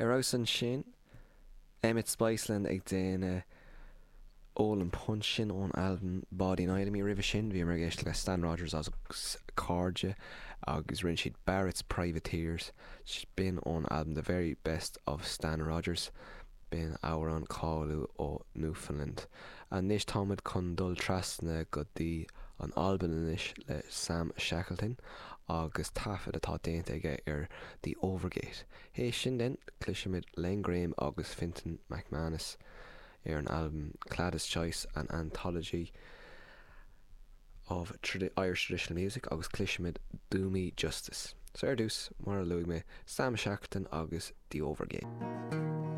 Ar fheabhas ansin, Emmet Spiceland ag déanamh Ól an Punch sin ón albam Báidín Fheidhlimí. Roimhe sin, bhíomar ag éisteacht le Stan Rogers agus cairde agus rinne siad Barrett's Privateers, b'in ón albam The Very Best of Stan Rogers. B'in amhrán cáiliúil ó Newfoundland. Anois táimid chun dul trasna go dtí an Albain anois le Sam Shackleton agus taifead atá déanta aige ar The Overgate. Théis sin then, cloisfimid Len Graham agus Fintan McManus ar an albam Claddagh Choice, An Anthology of Irish Traditional Music agus cloisfimid Do Me Justice. So ar dtús, mar a luaigh mé, Sam Shackleton agus The Overgate.